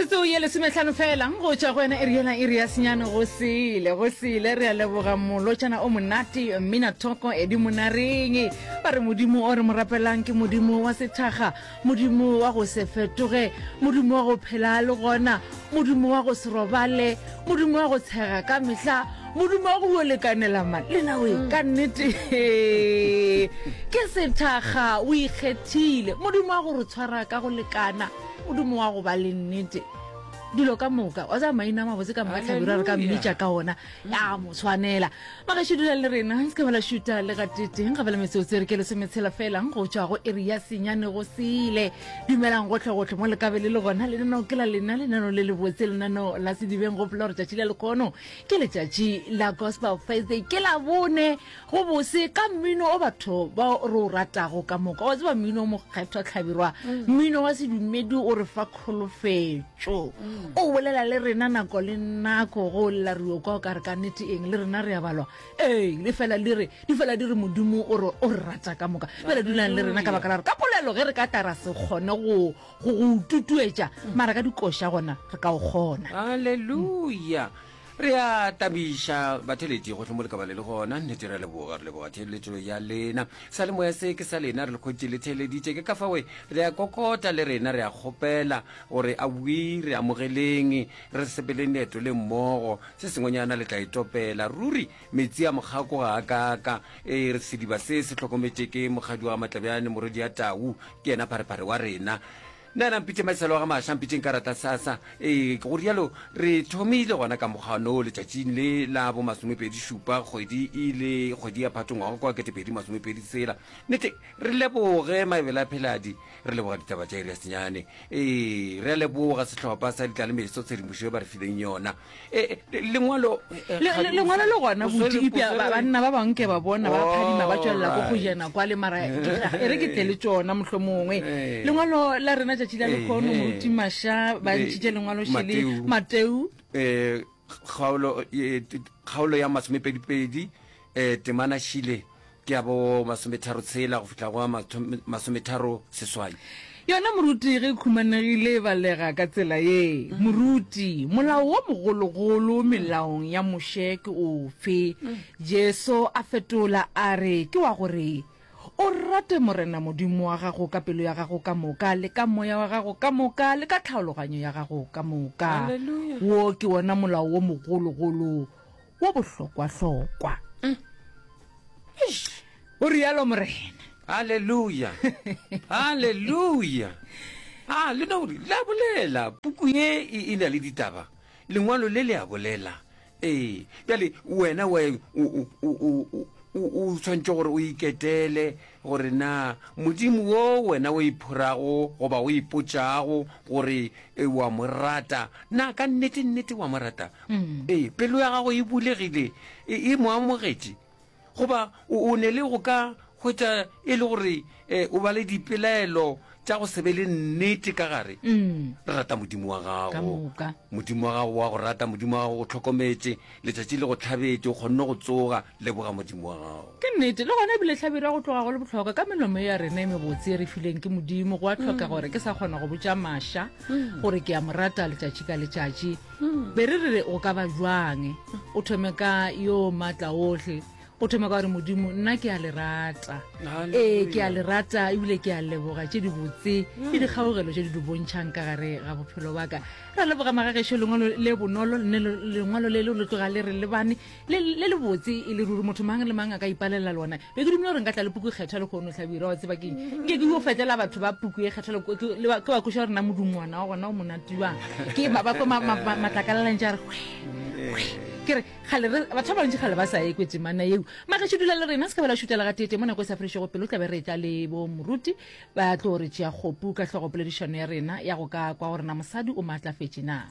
Metsotso ye lesometlhano fela go tšwa go yona iri yela iri ya senyane go sele go sele. Re a leboga molotšana o monate mmina thoko Edi Monareng. Ba re Modimo o re mo rapelang ke Modimo wa sethakga, Modimo wa go se fetoge, Modimo wa go phela a le gona, Modimo wa go se robale, Modimo wa go tshega ka mehla, Modimo wa go yo lekanela man. Lena we ka nnete ke sethakga o ikgethile. Modimo wa go re tshwara ka go lekana. Modimo wa go ba le nnete dilo ka moka wa tsaya maina a mabotse ka moka tlhabirwa re ka mmitša ka ona ya mo tshwanela magašo dula le rena se ka bala šuta le gateteng ga bela metsotso re ke lesometshela fela go tšwa go iri ya senyane go sele dumelang gotlhegotlhe mo lekabe le le gona lenaneo ke la lena lenaneo le lebotse lenaneo la sedibeng gopola gore tšatši la lekgono ke letšatši la gospel thursday ke la bone Go bose ka mmino o batho ba re o ratago ka moka. Wa tseba mmino o mokgethwa Hlabirwa, mmino wa sedumedi o re fa kholofetšo. O bolela le rena nako le nako ge o lla re yo kwa o ka re ka nnete eng le rena re a balwa. Ee, le fela di re, di fela di re Modimo o re o re rata ka moka. Bjale dulang le rena ka baka la gore ka polelo ge re ka tla ra se kgone go go go tutuetša, mara ka dikoša gona re ka o kgona. Haleluya! Re a tabiša batheeletši gohle mo le ka ba le le gona. Nnete re a leboga, re leboga theeletšo ya lena. Seyalemoya se ke sa lena, re le hwetše le theeleditše. Ke ka fao re a kokota le rena, re a kgopela gore awi re amogeleng, re sepeleng leeto le mmogo. Se sengwenyana le tla itopela. Ruri metsi a mokgako ga a kaaka. Ee, re sediba se se hlokometše ke mokgadi wa ga Matlabjane, morwedi ya tau, ke yena pharephare wa rena. Nna yena mpitše Maiselo wa ga Maša, mpitšeng karata sasa. Ee, go rialo re thomile gona ka mokgwano letšatšing le la bo masomepedi šupa kgwedi e le kgwedi ya Phato ngwaga kwa ketepedi masomepedi tshela. Nnete re leboge Maebele a Pheladi, re leboga ditaba tša iri ya senyane. Ee, re a leboga sehlopha sa Ditlalemeso tshedimošo ye ba re fileng yona. Eh, eh, lengwalo eh, lengwalo le gona botipja banna ba bangwe ke ba bona ba phadima ba tswelela ko go jena kwa le mara e re ke tle le tsona mohlho mongwe lengwalo la rena tšatši la lekgono moruti maša ba ntšhitše lengwalo šele mateu kgaolo kgaolo ya masomepedipedi um temana šile Ke ya bo masometharotshela go fihla go a masometharo seswai. Yona moruti ge e khumanegile e balega ka tsela ye, Moruti, molao wo mogologolo melaong ya Moshe ke ofe? Jesu a fetola a re, Ke wa go re, O rate Morena Modimo wa gago ka pelo ya gago ka moka, le ka moya wa gago ka moka, le ka tlhaologanyo ya gago ka moka. Wo ke wona molao wo mogologolo wo bohlokwahlokwa. Eish, o rialo Morena. Haleluya! Haleluya! A le no gore la bolela, puku ye e, e na le ditaba. Lengwalo le le a bolela. Ee, bjale wena wa o, o, o, o, o, o tshwanetše gore o iketele gore na Modimo wo wena o iphorago goba o ipotšago gore e, wa mo rata, na ka nnete nnete wa mo rata? Ee, pelo ya gago e bulegile, e, e mo amogetše. Goba o, o ne le go ka hwetša e le gore e, o ba le dipelaelo tša go se be le nnete ka gare. Re rata Modimo wa Ka gago. moka. Modimo wa gago wa go rata, Modimo wa gago o hlokometše, letšatši le go hlabetše, o kgonne go tsoga, leboga Modimo wa gago. Ke nnete, le gona ebile hlabirwa go tloga go le bohlokwa ka melomo ya rena e mebotse e re fileng ke Modimo. Go a hloka gore ke sa kgona go botša Masha gore ke a mo rata letšatši ka letšatši. Be re re go ka ba bjang? O thome ka yo maatla ohle. O thome ka gore Modimo, nna ke a le rata. Ee, ke a le rata ebile ke a leboga tše dibotse le dikgaogelo tše di di bontšhang ka gare ga bophelo ba ka. Re a leboga magagešo, lengwalo le bonolo, lengwalo le le tloga le re lebane le le lebotse e le ruri, motho mang le mang a ka ipalela lona. Be ke dumela gore nka tla le puku e kgethwa lehono, Hlabirwa, wa tseba keng? Nke ke yo fetela batho ba puku e kgethwa le ke ba kweša gore na modungwana wa gona o monate bjang. Ke ba kwa matlakala a ntše a re hwe, hwe. Ke re, kgale re, batho ba bantši kgale ba sa ekwe temana yeo. Magešo dula le rena, se ka ba la šutela gateetee mo nako e sa fedišego pelo, tla be re etla le bo moruti ba tlo re tšea kgopu ka hlogo poledišano ya rena ya go ka kwa gore na mosadi o maatlafetše na.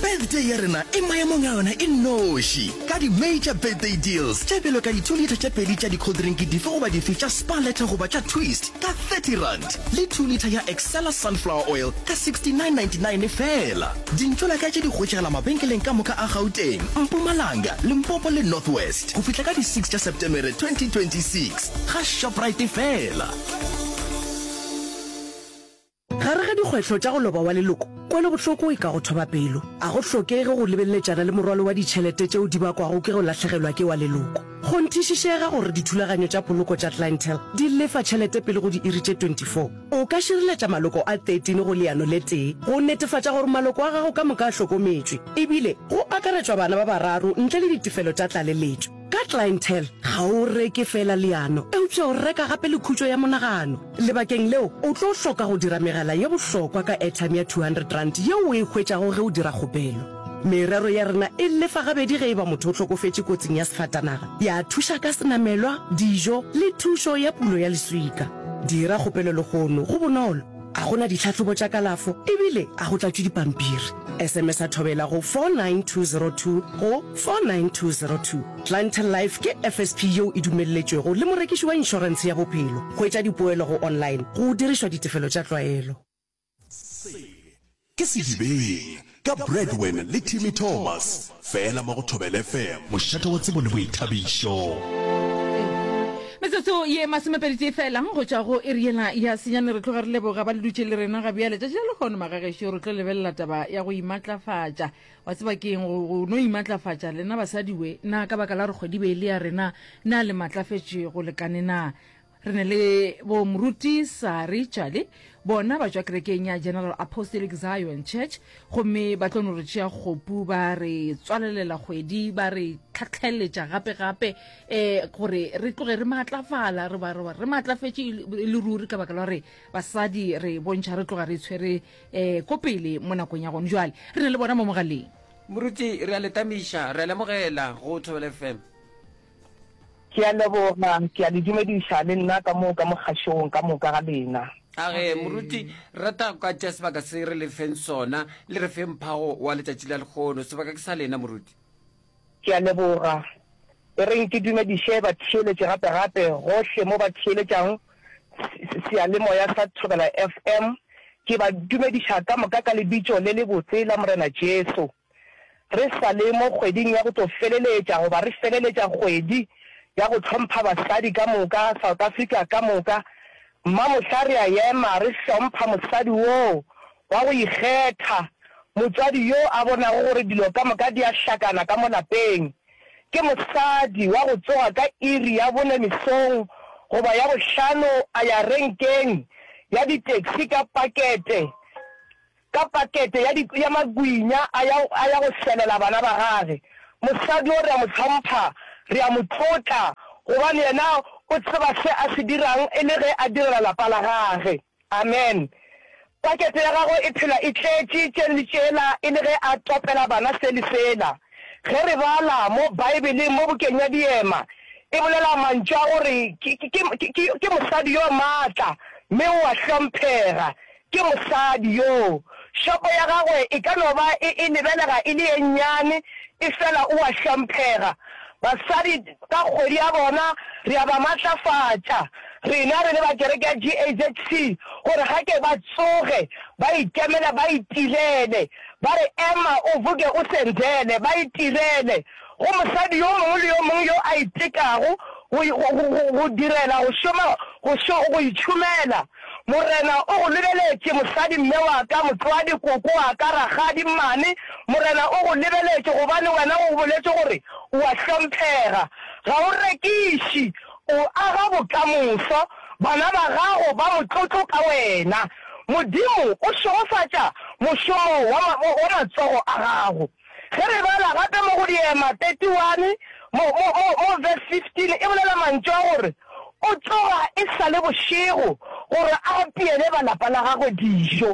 Birthday ya rena e maemong a yona e nnoši ka di-major birthday deals tše bjalo ka di-two litre tše pedi tša di-cold drink dife goba dife tša Spar Letter goba tša Twist ka R30 le two litre ya Excella Sunflower Oil ka R69.99 feela. Dintšolaka tše di hwetšagala mabenkeleng ka moka a Gauteng, Mpumalanga, Limpopo le North West go fihla ka di six tša Setemere 2026 ga Shoprite feela. Gare ga dikgwetlho tša go loba wa leloko, kwelobohloko e ka go thoba pelo. A go hlokege go lebeleletšana le morwalo wa ditšhelete tšeo di bakwago ke go lahlegelwa ke wa leloko. Kgonthišišega gore dithulaganyo tša poloko tša Clientele di lefa tšhelete pele go diiri tše 24. O ka šireletša maloko a 13 go leano le tee go netefatša gore maloko a gago ka moka a hlokometšwe, ebile go akaretšwa bana ba bararo ntle le ditefelo tša tlaleletšo. Ka Clientele, ga o reke feela leano, eupša o reka gape le khutšo ya monagano. Lebakeng leo, o tlo hloka go dira megala ye bohlokwa ka airtime ya R200 yeo o e hwetšago ge o dira kgopelo. Merero ya rena e lefa gabedi ge e ba motho o hlokofetše kotsing ya sefatanaga, ya thuša ka senamelwa, dijo le thušo ya pulo ya leswika. Dira kgopelo lehono, go bonolo, ga go na ditlhahlobo tša kalafo ebile ga go tlatšwe dipampiri. SMS-a Thobela go 49202 go 49202. Clientele Life ke FSP yeo e dumelletšwego le morekiši wa inšorentshe ya bophelo. Hwetša dipoelo go online go dirišwa ditefelo tša tlwaelo. Se ke Sedibeng ka Bradwin le Timmy Thomas, fela mo go Thobela FM, mošate wa tsebo le boithabišo. Metsotso ye masomepeditee fela go tšwa go iri yela ya senyane. Re tloga re leboga ba le dutše le rena ga bjale. Tšatši la lehono magagešo re tlo lebelela taba ya go imatlafatša. Wa tseba ke eng go, go no imatlafatša lena basadi we? Na ka baka la gore kgwedi be e le ya rena, na le matlafetše go lekane na? Re ne le bo Moruti Sari Tšale, bona ba tšwa kerekeng ya General Apostolic Zion Church, gomme ba tlo no re tšea kgopu ba re tswalelela kgwedi, ba re tlhatlheletša gape gape um gore re tloge re maatlafala, re ba, re ba, re maatlafetše e le ruri ka baka la gore basadi re bontšha re tloga re tshwere um ko pele mo nakong ya gone jwale. Re ne le bona mo mogaleng. Moruti, re a le tamiša, re a le amogela go Thobela FM. Ke a leboga, ke a le dumediša le nna ka mo ka mogašong ka moka ga lena. A ge, moruti, re rata go ka tšea sebaka se re le feng sona, le re fe mphago wa letšatši la lehono. Sebaka ke sa lena, moruti. Ke a leboga. E reng ke dumediše batheeletši gape-gape gohle mo ba theeletšang seyalemoya sa Thobela FM. Ke ba dumediša ka moka ka lebitso le lebotse la Morena Jesu. Re sa le mo kgweding ya go tlo feleletša goba re feleletša kgwedi ya go hlompha basadi ka moka South Africa ka moka, mmamohla re a ema re hlompha mosadi woo wa go ikgetha, motswadi yo a bonago gore dilo ka moka di a hlakana ka mo lapeng. Ke mosadi wa go tsoga ka iri ya bone mesong goba ya bohlano a ya renkeng ya di-taxi ka pakete ka pakete ya di, ya magwinya a ya, a ya go selela bana ba gage. Mosadi yo re a mo hlompha, re a mo tlotla, gobane yena o tseba se a se dirang e le ge a direla lapa la gage. Amen. Pakete ya gagwe e phela e tletše tše le tšela e le ge a topela bana se le sela. Ge re bala mo Baebeleng mo bukeng ya Diema, e bolela mantšu a gore ke, ke, ke, ke, ke mosadi yo maatla mme o a hlomphega. Ke mosadi yoo. Shopo ya gagwe e ka no ba e, e lebelega e le ye nnyane, efela o a hlomphega. Basadi ka kgwedi ya bona re a ba matlafatša, rena re le ba kereke ya GAZC, gore ga ke ba tsoge ba ikemele ba itirele. Ba re ema o vuke o sendele, ba itirele. Go mosadi yo mongwe le yo mongwe yo a itekago go, go, go, go direla, go šoma, go šo, go itšhomela. Morena o go lebeletše, mosadi, mme wa ka, motswadi, koko wa ka, rakgadi, mmane. Morena o go lebeletše gobane wena o boletše gore o a hlomphega. Ga o rekiše, o aga bokamoso. Bana ba gago ba motlotlo ka wena. Modimo o šegofatša mošomo wa, wa matsogo a gago. Ge re bala gape mo go Diema 31, mo, mo, mo, mo verse 15, e bolela mantšu a gore, O tsoga e sa le bošego gore a apeele ba lapa la gagwe dijo.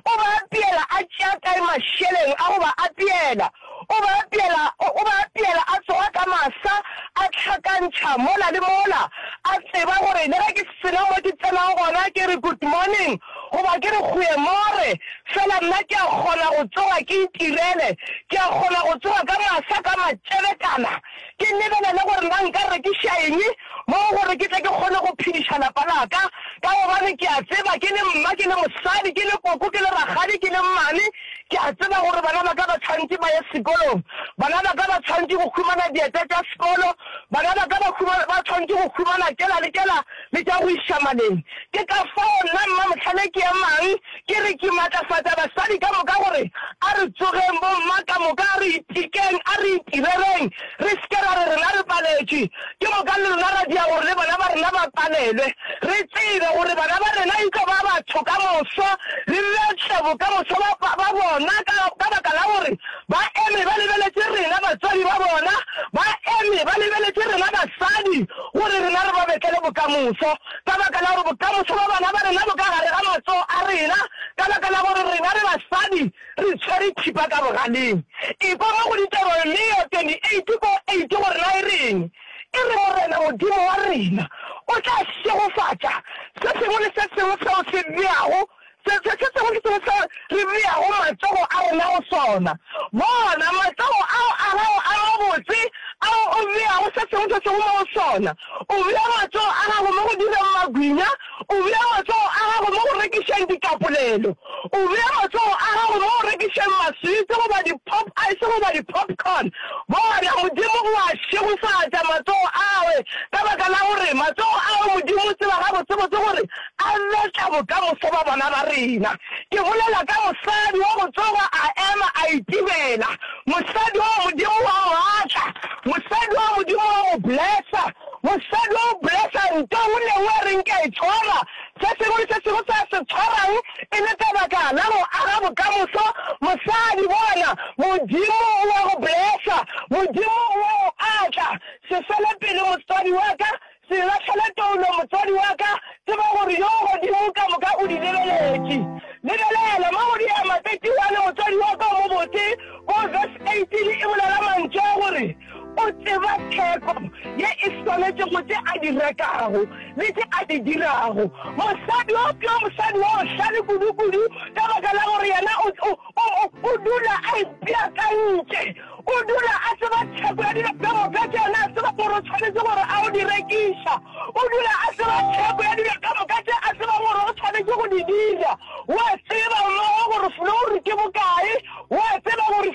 O ba apeela a tšea kae mašeleng a go ba apeela? O ba apeela, o, o ba apeela a tsoga ka masa, a hlakantšha mola le mola, a tseba gore le ge ke sena mo ke tsenang gona ke re good morning. goba ke re goeiemôre, fela nna ke a kgona go tsoga ke itirele, ke a kgona go tsoga ka masa ka matšebekana, ke lebelele gore na nka rekiša eng mo gore ke tle ke kgone go phediša lapa la ka, ka gobane ke a tseba ke le mma, ke le mosadi, ke le koko, ke le rakgadi, ke le mmane, ke a tseba gore bana ba ka ba tshwanetše ba ye sekolong, bana ba ka ba tshwanetše go humana dieta tša sekolo, bana ba ka ba humana, ba tshwanetše go humana tšela le tšela le tša go iša maleng. Ke ka fao nna Mmamohlale ke emang ke re ke matlafatša basadi ka moka gore a re tsogeng bomma ka moka a re itekeng, a re itireleng, re se ke ra re rena re paletšwe, ke moka le rena ra dia gore le bana ba rena ba palelwe. Re tsebe gore bana ba rena e tlo ba batho ka moso, re betle bokamoso ba ba bona ka ka baka la gore ba eme ba lebeletše rena batswadi ba bona, ba eme ba lebeletše rena basadi gore rena re ba betlele bokamoso. Ka baka la gore bokamoso bja bana ba rena bo ka gare ga matsogo a rena, ka baka la gore rena re basadi re tshwere thipa ka bogaleng. Ekwa mo go Deuteronomio 28 ko 8 gore na e reng. E re, Morena Modimo wa rena o tla šegofatša se sengwe le se sengwe seo se beago Se, se, se sengwe le sengwe seo re beago matsogo a rena go sona. Bona, matsogo ao a gago a mabotse ao o beago se sengwe se sengwe mo go sona. O bea matsogo a gago mo go direng magwinya, o bea matsogo a gago mo go rekišeng dikapolelo, o bea matsogo a gago mo go rekišeng maswitse goba di-pop ice goba di-popcorn. Bona, Modimo o a šegofatša matsogo ao, ka baka la gore matsogo ao Modimo o tseba gabotsebotse gore A betla bokamoso ba bana ba rena. Ke bolela ka mosadi wa go tsoga a ema a itibela. Mosadi wa Modimo wa mo atla. Mosadi wa Modimo wa mo blessa. Mosadi wa o blessa nto nngwe le nngwe a reng ke a e tshwara. Se sengwe le se sengwe se a se tshwarang e le ka baka la go aga bokamoso. Mosadi, bona, Modimo o a go blessa. Modimo o a go atla. Se fele pelo, motswadi wa ka. Se lahlele toulo, motswadi wa ka, tseba gore Yo Godimo ka moka o di lebeletše. Lebelela mo go diema 31, motswadi wa ka o mobotse, ko verse 18 e bolela mantšu a gore, O tseba theko ye e swanetšego tše a di rekago le tše a di dirago. Mosadi wo ke yo mosadi wa bohlale kudu-kudu ka baka la gore yena o, o, o, o dula a ipeakantše. O dula a tseba theko ya dilo ka moka tše yena a tseba gore o tshwanetše gore a o di rekiša. O dula a tseba theko ya dilo ka moka tše a tsebang gore o tshwanetše go di dira. O a tseba mmogo gore flouru ke bokae, o a tseba gore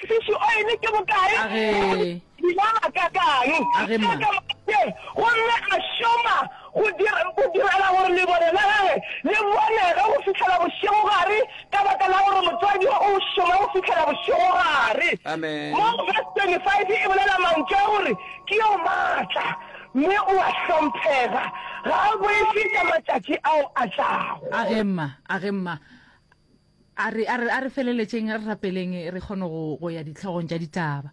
fish oil ke bokae, Age. di ba gakakang. Age ma. Tše ka moka tše, gomme a šoma go dira, go direla gore lebone la gagwe le bonege go fihlela bošegogare, ka baka la gore motswadi yo o šoma go fihlela bošegogare. Amen. Mo go verse 25 e bolela mantšu a gore ke yo matla mme o a hlomphega, ga a boife tša matšatši ao a tlago. A ge mma, a ge mma. A re, a re, a re feleletšeng re rapeleng re kgone go, go ya dihlogong tša ditaba.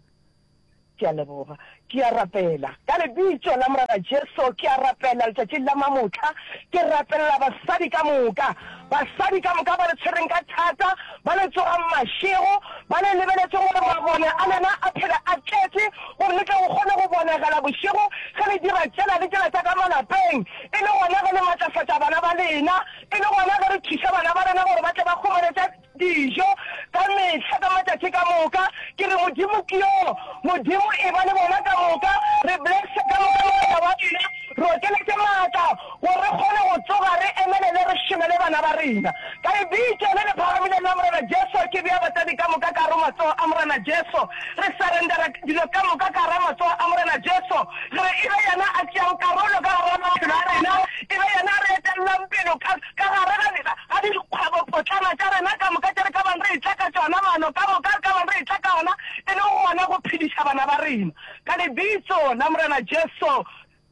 Ke a leboga. Ke a rapela. Ka Lebitso la Morena Jesu, ke a rapela letšatšing la mamohla. Ke rapelela basadi ka moka, basadi ka moka ba le tshwereng ka thata, ba le tsogang mašego, ba le lebeletše gore mabone a lena a phele a tletše, gore le tle go kgone go bonegela bošego ge le dira tšela le tšela tša ka malapeng, e le gona ge le matlafatša bana ba lena, e le gona ge re thuša bana ba rena gore ba tle ba humane tša Dijo ka mehla, ka matšatši ka moka. Ke re, Modimo ke yo. Modimo, eba le bona ka moka. Re blesse ka moka, Morena wa rena. Re okeletše maatla, gore re kgone go tsoga, re emelele, re šomele bana ba rena. Ka Lebitso le le phagamileng la Morena Jesu, ke bea batswadi ka moka ka gare matsogo a Morena Jesu. Re surrendera dilo ka moka ka gare matsogo a Morena Jesu. Re re e be Yena a tšeago karolo ka gare ga maphelo a rena. E be Yena a re etellang pele ka, ka gare ga, ga dikgwebopotlana tša rena ka moka tše re ka bang re etla ka tšona, maano ka moka re ka bang re etla ka ona, e le gona go phediša bana ba rena. Ka Lebitso la Morena Jesu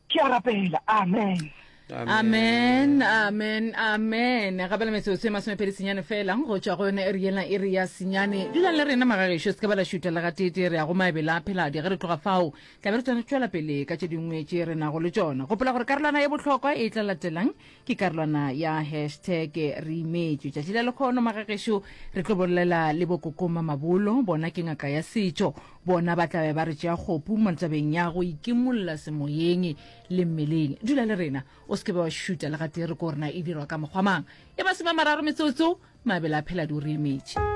ke a rapela. Amen. Amen, amen, amen. Gabela metsotso e masomepedi senyane fela go tšwa go yone iri yela iri ya senyane. Dulang le rena magagešo, se ke ba la šutha le gateetee, re ya go maebele a pheladi. Ge re tloga fao, tla be re tšwela pele ka tše dingwe tše re nago le tšona. Gopola gore karolwana ye bohlokwa e tla latelang Ke karolwana ya hashtag re imetšwe. Tšatši la lekgono magagešo re tlo bolela le bokoko Mamabolo, bona ke ngaka ya setšo. Bona ba tla be ba re tšea kgopu mo tabeng ya go ikimolla semoyeng le mmeleng. Dula le rena o. O se ke be wa šuta le gatee re ko rena e dirwa ka mokgwa mang. E masomemararo metsotso, mabele a phela di o re emetše.